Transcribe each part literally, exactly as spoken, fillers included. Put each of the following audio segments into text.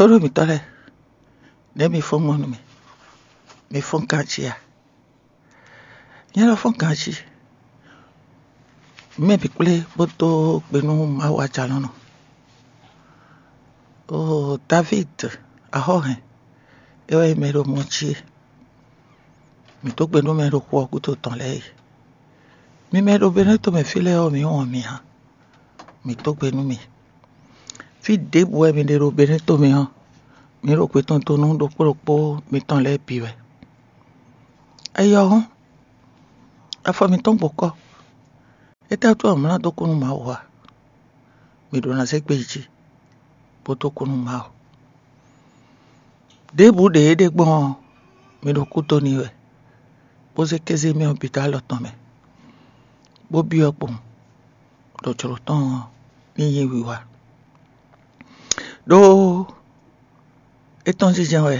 Tóɖó mǐtɔn lɛ́ɛ, nɛ̌ mi fɔ́n gbɔn nú mì? Mi fɔ́n ganjí a? Nyɛ lɔ fɔ́n ganjí. Mɛ bǐ kplé bó dó gbe nú Mawu ajalɔ̌nɔ. Oo, Davíd, axɔ́hɛn, é wɛ nyí mɛ e ɖo mɔ jí e. Mǐ dó gbe nú mɛ e ɖo xu ɔ́ gúdo tɔn lɛ́ɛ e. Mi mɛ e ɖo Benɛ́to mɛ fí lɛ́ɛ ɔ́, mǐ wɔn mi ǎ. Mǐ dó gbe nú mi. Fí ɖěbǔ wɛ mi ɖe ɖo Benɛ́ tomɛ ɔ́, mǐ ɖo gbe tɔn dó nú ɖokpó ɖokpó mitɔn lɛ́ɛ bǐ wɛ. Ayɔ hɔn, afɔ mǐtɔn gbɔkɔ. Étɛ́ wútu wɛ mlá dó kú nú Mawu a? Mǐ ɖo ná zé gbe yi jí, bó dó kú nú Mawu. Ɖěbǔ ɖě é ɖe gbɔn ɔ́, mi ɖo kú dó n'i wɛ, bó zé kéze mɛ ɔ́ bǐ dó alɔ tɔn mɛ, bó byɔ́ kpowun, ɖɔ jlǒ tɔn ɔ́ ní nyí wiwa. Ɖó é tɔ́n jínjɛ́n wɛ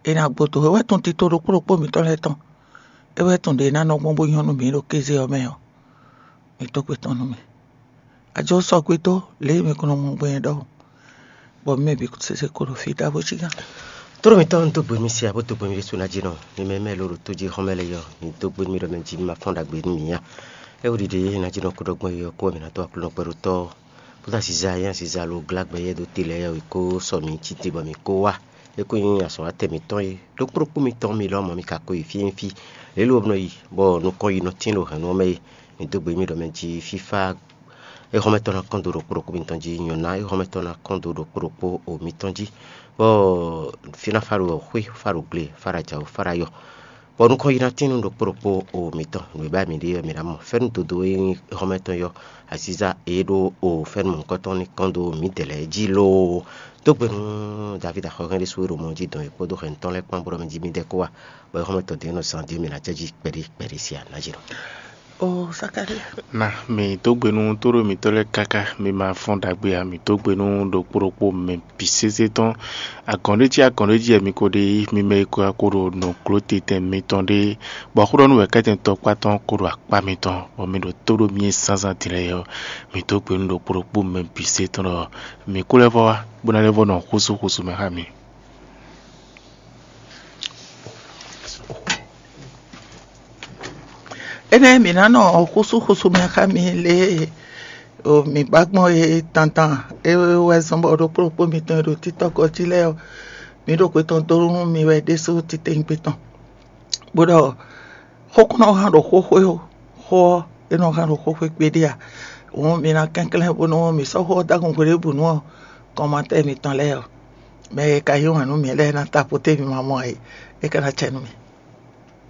è nǎ gbɔdɔ é wɛ tɔn tito ɖokpó ɖokpó mǐtɔn lɛ́ɛ tɔn. É wɛ tɔn ɖě ná nɔ gbɔn bó nyɔ́ nú mǐ ɖo kéze ɔ́ mɛ ɔ́, mǐ dó gbe tɔn nú mì. Ajɔ sɔgbe dó lě e mi ko nɔ mɔ gbɛn ɖɔhun, bɔ mɛ bǐ sese ko ɖo fí ɖaxó cí gán. Tlóló mǐtɔn dó gbe mi sia bó dó gbe mi ɖésú ná jí nɔ. Mi mɛ mɛ ló ɖo tó jí xɔ́mɛ lɛ́ɛ yɔ, mi dó gbe mi ɖɔ mɛ jí mi ma fɔ́n ɖagbe nú mi nya. É wú ɖiɖe ná jí nɔ kó ɖɔ gbɔn yɔ kó wɛ mi ná dó aklúnɔ kpɛɖótɔ́. Bó dó aziza e nyi aziza lo glá gbɛ yɛ́ dó te lɛ́ɛ yɔ, è kó sɔ mi cí te bɔ mi kó wá. É kó nyí azɔ̌watɛn mǐtɔn e ɖokpó ɖokpó mitɔn mi lɔmɔ̌ mi ka ko yi fí e nyí fí lě lo nɔ yi, bɔ nukɔn yi nɔ tín ɖo hɛ̌nnu ɔ́ mɛ é. Mi dó gbe mi ɖɔ mɛ jí fífá éhɔ́mɛtɔn ná kɔn dó ɖokpó ɖokpó mitɔn jí, nyɔ̌ná éhɔ́mɛtɔn ná kɔn dó ɖokpó ɖokpó o mitɔn jí, bɔ fí ná fá ɖo xwé, fá ɖo gle, fá ɖo ajǎ, fá ɖo ayɔ, bɔ nukɔn yi ná tín nú ɖokpó ɖokpó o mitɔn. Nǔ e ba mǐ ɖe ɔ́, mǐ ná mɔ fɛ́nú dodó e nyí éhɔ́mɛtɔn yɔ, aziza e ɖó o fɛ́nú mɔ̌hunkɔtɔn ní kɔn dó mǐdɛɛ lɛ́ɛ jí loo. Dó gbe nú Davídi axɔ́hɛn ɖésú e ɖo mɔ jí dɔn é kpódó hɛn tɔn lɛ́ɛ kpán bó ɖɔ mɛ jí mǐdɛɛ kó wá, bɔ éhɔ́mɛtɔn dě nɔ zán dě mǐ ná jɛ jí kpɛɖé kpɛɖé sia ná jí nɔ. O Zakalía. Na mi dó gbe nú tóɖó mǐtɔn lɛ́ɛ káká, mi ma fɔ́n ɖagbe ǎ, mi dó gbe nú ɖokpó ɖokpó mɛ bǐ sésé tɔn. Agɔ̌n ɖé cí agɔ̌n ɖé jí wɛ mi ko ɖe yí, mi mɛ e ko wá ko ɖo nǔgló titɛn mitɔn ɖé, bɔ xó ɖɔ nú wɛ̌kɛ́tɛn tɔkpá tɔn ko ɖo akpá mitɔn, bɔ mi ɖo tó ɖó mì zánzán din lɛ́ɛ ɔ́, mi dó gbe nú ɖokpó ɖokpó mɛ bǐ sésé tɔn ɖɔ mi kú lɛ́ vɔ wá, bó ná lɛ́ vɔ nɔ xúsú xúsú mɛ xá mi. Énɛ́ mǐ ná nɔ xúsúxúsú mɛ xá mi lě e mǐ ba gbɔn é tantan é wɛ zɔ́n bɔ ɖokpó ɖokpó mitɔn e ɖo títɔ́ gɔ́ jí lɛ́ɛ ɔ́, mǐ ɖo xwe tɔn dó nú mi wɛ ɖésú titewungbe tɔn, bó ɖɔ xó kún nɔ hán ɖo xóxó xó ɔ́, é nɔ hán ɖo xóxó kpéɖé a? Hǔn mi ná kɛnklɛ́n bónú mǐ sɔ́ xó ɔ́ dó agun hweɖěbǔnu ɔ́, kɔnmatɛ́ mitɔn lɛ́ɛ ɔ́, mɛ e ka yí wǎn nú mǐ lɛ́ɛ ná ta poté mi ma mɔ ǎ é, é ka ná acɛ nú mì.